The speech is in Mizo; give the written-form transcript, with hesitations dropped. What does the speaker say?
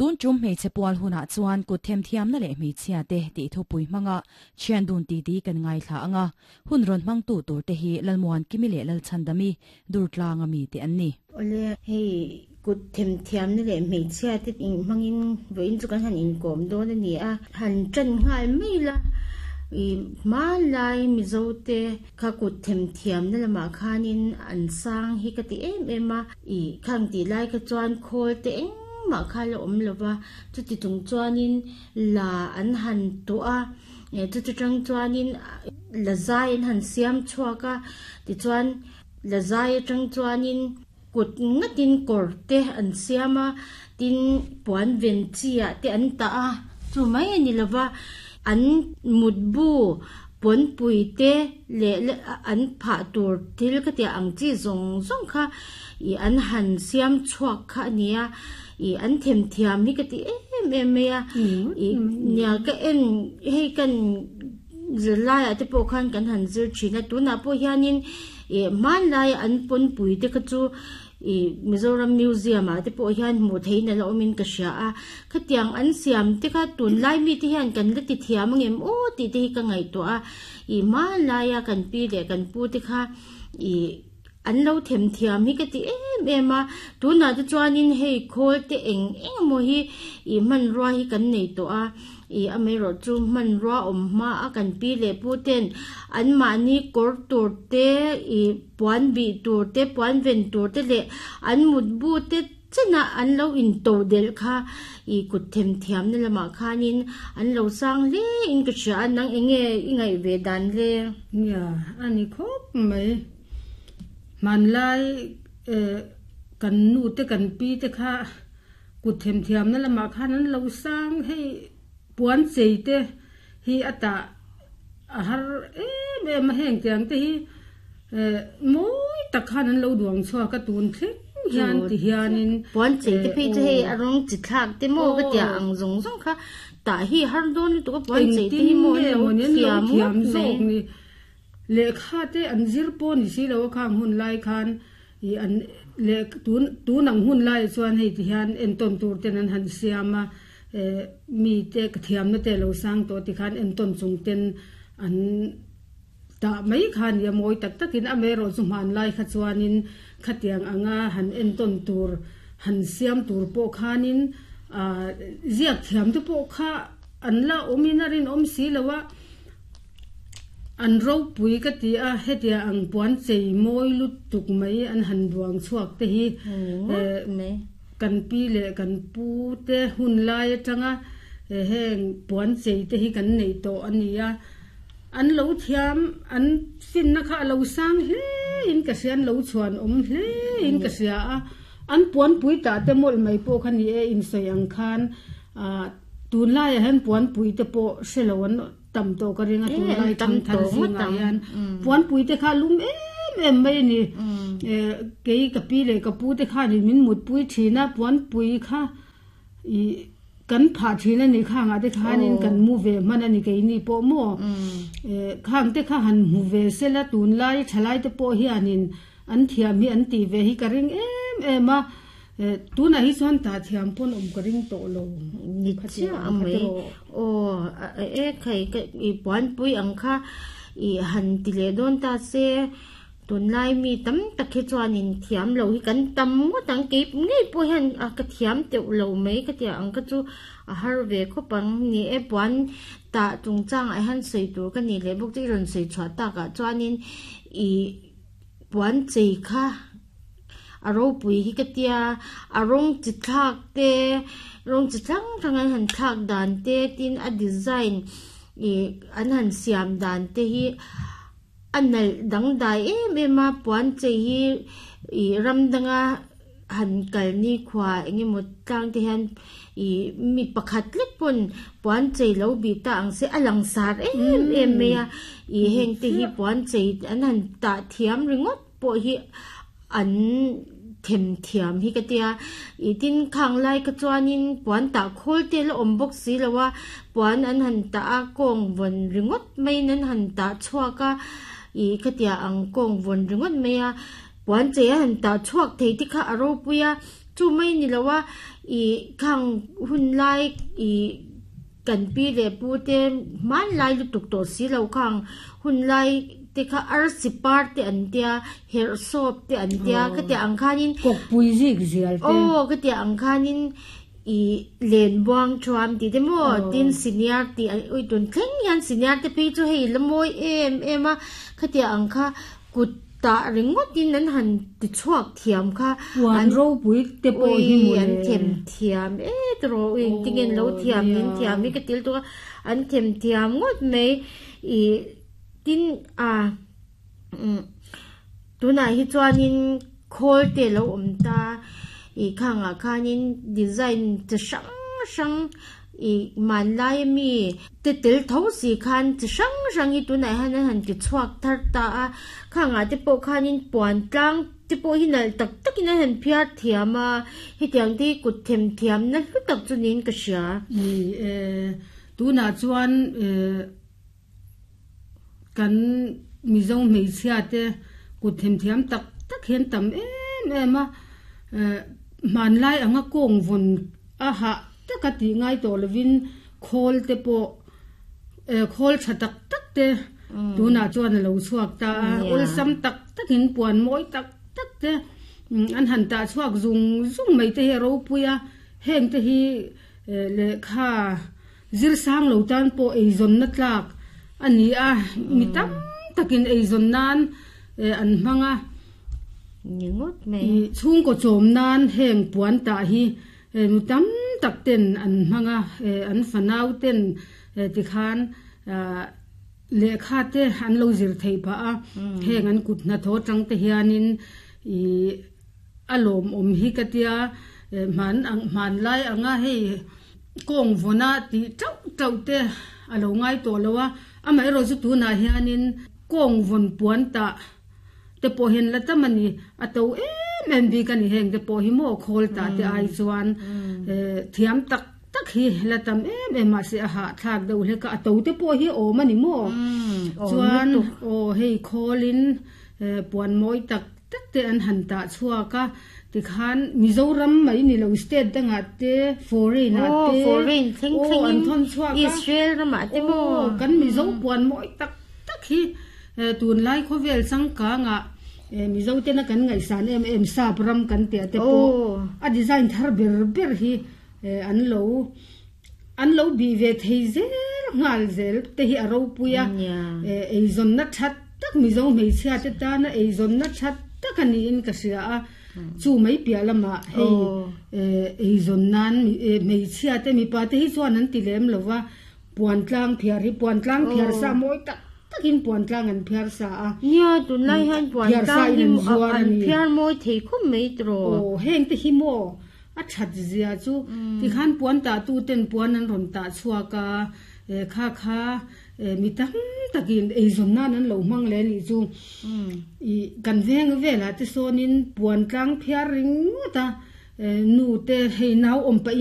Tun tum hmeichhe pual hunah chuan kut themthiamna leh hmeichhiate tih thupui hmanga thian dun titi kan ngaithla ang a, hun rawn hmangtu turte hi Lalmuankimi leh Lalchhandami Durtlanga mite an ni. Awle, hei kut themthiamna leh hmeichhiate hmangin vawiin chu kan han inkawm dawn a ni a, han tan nghal mai la, i hmanlai Mizote kha kut themthiamna lamah khanin an sang hi ka ti em em a, i khang tih lai kha chuan khawl te engmah kha la awm lo va, chuti chung chuanin la an han tuah a, chuti tang chuanin la zai an han siam chhuak a, tichuan la zai atang chuanin kut ngatin kawr te an siam a, tin puan ven chi ah te an tah a, chu mai a ni lo va, an mutbu pawnpui te leh an phah tur thil ka tih ang chi zawng zawng kha ih an han siam chhuak kha a ni a, ih an themthiam hi ka ti em em mai a, ih nia ka en hei kan zirlai ah te pawh khan kan han zir thin a, tunah pawh hianin ih hmanlai an pawnpui te kha chu ih Mizoram Museum ah te pawh hian hmuh theihin a la awmin ka hria a, khatiang an siam te kha tunlai mite hian kan la ti thiam angem aw tih te hi ka ngaihtuah a, ih hmanlaia kan pi leh kan pu te kha ih an lo them thiam hi ka ti em em a, tunah te chuanin hei khawl te eng eng emaw hi ih hmanrua hi kan nei tawh a, ih amaherawh chu hmanrua awm hma a kan pi leh pu ten anmahni kawr tur te ih puan bih tur te puan ven tur te leh an mutbu te chenah an lo into delh kha ih kut them thiamna lamah khanin an lo sang hle in ka hria a, nang eng nge i ngaih ve dan le? Nia, a ni khawp mai. Hmanlai eh kan nu te kan pi te kha kut them thiamna lamah khan an lo sang hei puan chei te hi a tah a har em em a heng tiang te hi eh mawi tak khan an lo duang chhuak a tun thleng hian ti hianin puan chei te phei chu hei a rawng chi thlak te maw ka tia ang zawng zawng kha tah hi har dawn lutuk a puan chei te hi maw an lo thiam ngawt mai. Lehkha te an zir pawh ni si lo a khang hun lai khan ih an leh tun tun ang hun laiah chuan hei ti hian entawn tur ten an han siam a eh mi te ka thiamna te a lo sang tawh ti khan entawn chung ten an tah mai kha a ni a mawi tak takin amaherawh chu hmanlai kha chuanin khatiang anga han entawn tur han siam tur pawh khanin ah ziak thiam te pawh kha an la awmin a rinawm si lo a. An ropui ka ti a, hetia ang puan chei mawi lutuk mai an han duang chhuak te hi kan pi leh kan pu te hun lai atanga heng puan chei te hi kan neih tawh a ni a. An lo thiam, an finna kha a lo sang hle in ka hria, an lo chhuan awm hle in ka hria a. An puanpui tah te mawlh mai pawh kha ni e, insawi ang khan tunlaiah hian puanpui te pawh hre lo an tam tawh ka ring a tunlai thangthar zingah hian puanpui te kha lum em em mai a ni eh kei ka pi leh ka pu te khanin min mutpui thin a puanpui kha ih kan phah thin a ni khangah te khanin kan mu ve hman a ni keini pawh maw eh khang te kha han hmu ve sela tunlai thalai te pawh hianin an thiam hi an tih ve hi ka ring em em a. Eh, tunah hi chuan tah thiam pawn awm ka ring tawh lo. Ni chiah ang mai. Aw, e khai ka i puanpui ang kha i han ti leh dawn ta se, tunlai mi tam tak hi chuanin thiam lo hi kan tam ngawt ang. Kei ngei pawh hian a ka thiam teuh lo mai ka tia ang kha chu a har ve khawp ang. Ni e, puan tah chungchangah hian sawi tur ka nih leh bawk chu i rawn sawi chhuah takah chuanin i puan chei kha a ropui hi ka tia a rawng chi thlak te rawng chi hrang hrang an han thlak dan te tin a design ih an han siam dan te hi a nalh dangdai em em a puan chei hi ih ram danga han kal nikhua eng emaw tlang te hian ih mi pakhat lek pawn puan chei lo bih ta ang se a langsar em em mai a ih heng te hi puan chei an han tah thiam ringawt pawh hi an them thiam hi ka tia ih tin khang lai kha chuanin puan tah khawl te la awm bawk si lo a puan an han tah a kawng vawn ringawt maiin an han tah chhuak a ih khatiang ang kawng vawn ringawt mai a puan chei a han tah chhuak thei te kha a ropui a. Chu mai ni lo a ih khang hun lai ih kan pi leh pu te hmanlai lutuk tawh si lo khang hun lai te kha arsi par te an tia herh sawp te an tia khatiang ang khanin Kawkpui zik zial te. Aw khatiang ang khanin ih len buang thuam tih te maw tin senior tih an ui tun thleng hian senior te phei chu hei la mawi em em a khatiang ang kha kut tah ringawt in an han ti chhuak thiam kha Puan ropui te pawh hi mawle. An them thiam e tawh ui engtin lo thiam nin thiam hi ka til tawh a an them thiam ngawt mai ih tin a umm tunah hi chuanin khawl te alo awm ta ih khangah khanin design chi hrang hrang ih hmanlai ami te tel tho si khan chi hrang hrang hi tunah hian an han ti chhuak thar ta a khangah te pawh khanin puan tlang te pawh hi nalh tak takin an han phiar thiam a hetiang te hi kut them thiamna hlu tak chu niin ka hria. Ni e, tunah chuan eh kan Mizo hmeichhia te kut them thiam tak tak hian tam em em a, eh hmanlai anga kawng vawn a hah taka tih ngai tawh lovin khawl te pawh eh khawl tha tak tak te tunah chuan a lo chhuak ta a, awlsam tak takin puan mawi tak tak te an han tah chhuak zung zung mai te hi a ropui a, heng te hi eh lehkha zir sang lo tan pawh eizawnna tlak a ni a, mi tam takin eizawn nan eh an hmang a, chhungkaw chawm nan heng puan tah hi Nu tam tak ten an hmang a, an fanau ten tikhan lehkha te an lo zir theih phah a, heng an kut hnathawh atang te hianin ih a lawmawm hi ka tia, hman ang hmanlai anga hei kawng vawna tih tauh tauh te a lo ngai tawh lo a, amaherawhchu chu tunah hianin kawng vawn puan tah te pawh hian la tam a ni a to em em bik a ni heng te pawh hi maw khawl tah te ai chuan eh thiam tak tak hi la tam em em mahse a hahthlak deuh hlek a a to te pawh hi a awm a ni maw chuan aw hei khawlin eh puan mawi tak tak te an han tah chhuak a tikhan Mizoram mai ni lo state dangah te foreign ah te aw an thawn chhuak a aw kan Mizo puan mawi tak tak hi. Tunlai khawvel changkangah Mizo tena kan ngaihsan em em sap ram kan tih te pawh a design thar ber ber hi an lo an lo bih ve thei zel nghal zel te hi a ropui a, eizawnna that tak Mizo hmeichhia te tana eizawnna that tak a niin ka hria a, chu mai piah lamah hei eizawn nan hmeichhia te mipa te hi chuan an ti lem lo va. Puan tlang phiar hi puan tlang phiar sa mawi tak takin puan tlang an phiar sa a. Nia, tunlai hian puan tlang hi an phiar mawi thei khawp mai tiraw. Aw, heng te hi maw a that zia chu tikhan puan tah tu ten puan an rawn tah chhuak a, kha kha mi tam takin eizawn nan an lo hmang leh anih chu. Ih kan veng velah te sawnin puan tlang phiar ringawt a, nu te hei nau awm pahin.